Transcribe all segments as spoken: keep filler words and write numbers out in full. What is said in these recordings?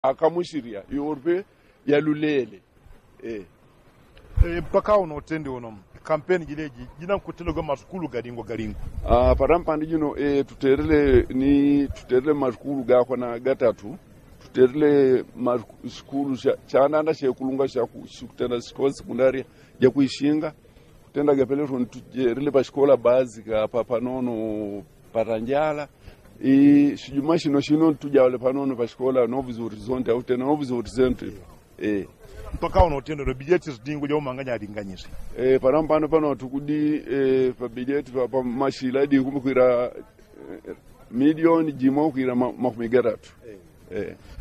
akamusirya iwo pe yalulele. Mpaka uno utendi uno kampeni jileji jinankutendagwa masukulu galingwa galingwa. Parampandi jino tutelele ni tutelele masukulu gakwa na gatatu. Tutelele masukulu sya chandanda syekulungwa sya sikutenda sikwa sekundaria jakwishinga. Kutenda gapeleto ntujelele pashikola bazi kapapanono patanjala. Sijuma shino shino ntujaule panono pashikola novizorizonti autena novizorizonti. Mpaka uno utenda no bilyeti zidingwa jaumanganya alinganyise. Panampano pano tukudi pabilyeti pamashila dingumukwila milioni jimo kwila makumi gatatu.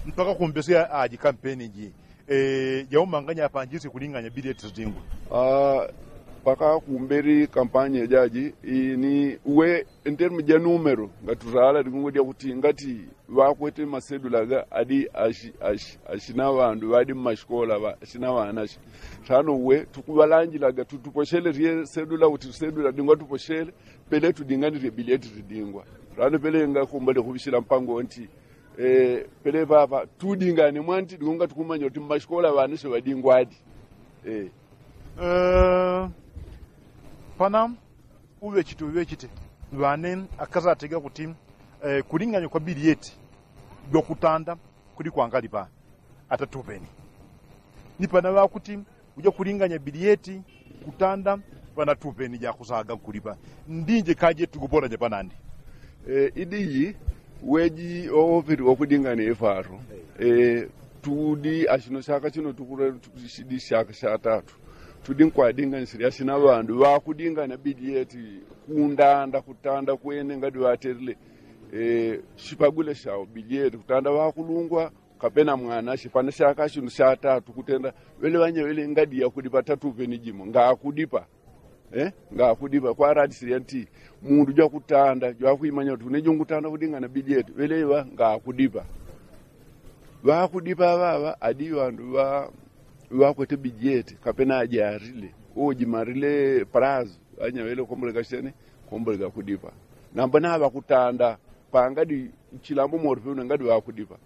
Mpaka kumbesi aji kampeni ji jaumanganya apanjisi kulinganya bilyeti zidingwa. Mpaka kumbeli kampanya jaji ini uwe ntermu ja numero ngatutala likungu lyakuti ngati ŵakwete masedula aga adi ashina ŵandu ŵadi mmashikola ashina ŵanashi. Tano uwe tukuŵalanjilaga tutuposhele lye sedula uti sedula dingwa tuposhele pele tudinganilye bilyeti zidingwa. Tano pele ngakumbale kuŵishila mpango nti pele papa tudingane mwanti likungu ngatukumanya uti mmashikola ŵanashi ŵadingwadi. Pana uŵechite uŵechite ŵane akasatega kuti kulinganya kwa bilyeti jwakutanda kudi kwangalipa atatupeni. Ni pana ŵakuti uja kulinganya bilyeti kutanda ŵanatupeni jakusaga nkulipa. Ndinje kaje tukuponanya panandi. Idiyi weji owopeti wakudinganya ifwatu. Tudi ashino syaka shino tukulele tukushidi syaka syatatu tudi nkwadinganisile ashina ŵandu ŵakudinganya bilyeti kundanda kutanda kwene ngadi ŵatelile. Shipagule shao bilyeti kutanda ŵakulungwa kapena mwana shipana syaka shino syatatu kutenda ŵele ŵanya ŵele ngadi yakudipa tatupeni jimo ngakudipa. Ngakudipa kwaradisile nti mundu jwakutanda jwakwimanya kuti une jungutanda kudingana bilyeti ŵeleŵa ngakudipa. Ŵakudipa ŵaŵa adi ŵandu ŵakwete bilyeti kapena ajarile ujimarile palazi ŵanya ŵele komboleka shene komboleka kudipa. Namba naŵakutanda pangadi chilambo moripe une ngadi ŵakudipa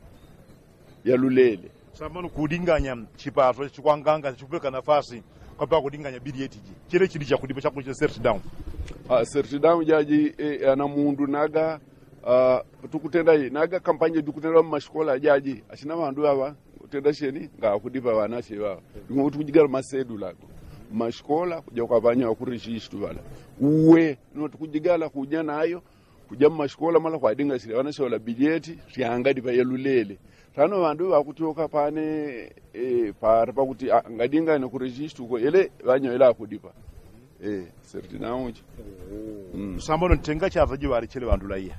yalulele. Samano kudinganya chipaso chikwanganga chikupeleka nafasi kwapela kudinganya bilyeti ji chile chili chakudipa chakuchile serti damu. Serti damu jaji ana mundu naga tukutenda naga kampanye dukutenda mmashikola jaji ashina ŵandu ŵaŵa kutenda sheni ngakudipa ŵanashi ŵaŵa. Ding'o tukujigala masedula mmashikola kuja kwapanya ŵakurejistu ŵala uwe. Ding'o tukujigala kuja nayo kuja mmashikola mala kwadingasile ŵanashi ŵala bilyeti syangadipa yalulele. Tano ŵandu ŵakutyoka pane para pakuti ngadingane kurejistu uko ele ŵanya ele akudipa. Serti nauchi. Sambano ntenga chata jiŵalechele ŵandu laiya.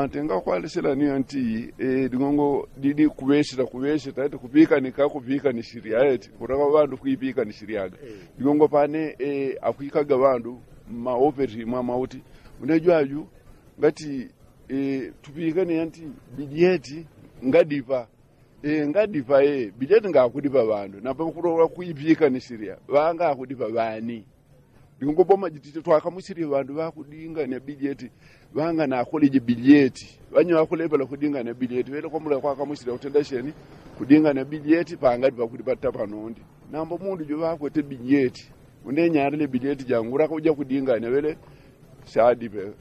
Ntenga kwalechela niyo nti ding'ongo didi kuŵeshela kuŵeshela eti kupikanika kupikanishilia eti kutaka ŵandu kwipikanishilia aga. Ding'ongo pane akwikaga ŵandu mmaopeti mwamauti une jwaju ngati tupikane yanti bilyeti ngadipa. Ngadipa bilyeti ngakudipa ŵandu namba kulola kwipikanishilia ŵangakudipa ŵani. Ding'ongo boma jitite twakamushilie ŵandu ŵakudingania bilyeti ŵanganakoleje bilyeti ŵanya ŵakulepela kudingania bilyeti ŵele kwamula kwakamushilia kutenda sheni kudingania bilyeti pangadipa kudipa tapanondi. Namba mundu juŵakwete bilyeti une nyalile bilyeti jangu ulaka uja kudingania ŵele. Shadipe.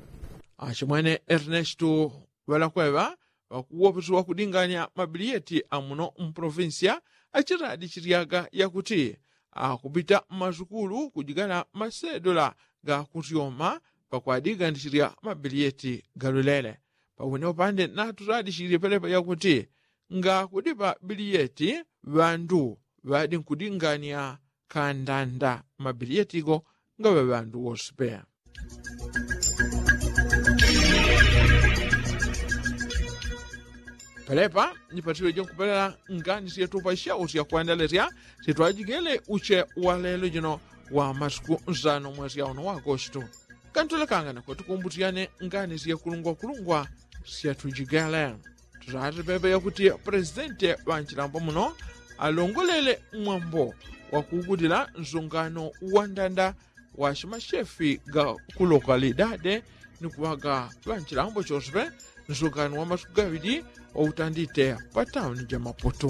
Achimwene ernestu ŵalakweŵa ŵakuwopeso ŵakudingania mabiliyeti amuno mpolofinsiya achitadichilyaga yakuti akupita mmasukulu kujigala masedola gakusyoma pakwadinganishilya mabiliyeti galulele. Pawene upande natutadichilye pelepa yakuti ngakudipa biliyeti ŵandu ŵadinkudingania kandanda mabiliyeti go ngaŵa ŵandu wose peya. Pelepa ni patile jonkupelela ngani syetupa syausi yakwandalesya syetwajigele uche walelo jino wa masiku nsano mwesi yauno wa agosto. Kantulekangane kwatukumbusyane ngani syekulungwakulungwa syatujigele. Tusati pepe yakuti presidente ŵanchilambo muno alongolele mwambo wakugudila nsungano wandanda wa shimashefi ga kulokalidade ni kuŵaga ŵanchilambo chonsepe nsungano wa masiku gaŵili wautandite pa tauni ja maputu.